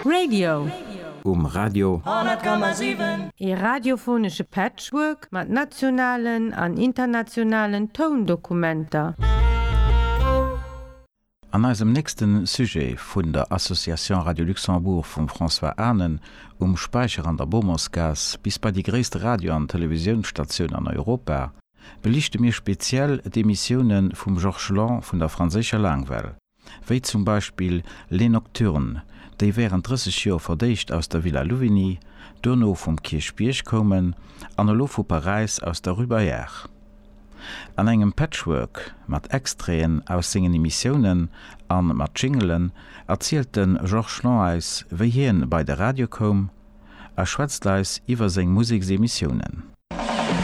Radio. Um Radio. 100,7. Ee radiophonesche Patchwork mat nationalen an internationalen Toundokumenter. An eisem nächste Sujet vun der Association Radio Luxembourg vum François Anen um Späicher an der Bomersgaass bis bei déi gréisste Radio an Televisiounsstatioun an Europa beliichte mir speziell d'Emissioune vum Georges Lang vun der franséischer Laangwell, wéi zum Beispill Les Nocturnes, déi wärend 30 Joer verdéischt aus der Villa Louvigny, duerno vum Kierchbierg koumen an elo vu Paräis aus der Rue Bayard. An engem Patchwork mat Extraiten aus sengen Emissiounen a mat Jingelen erzielt de Georges Lang eis, wéi hien bei de Radio koum a schwätzt eis iwwer seng Museksemissiounen.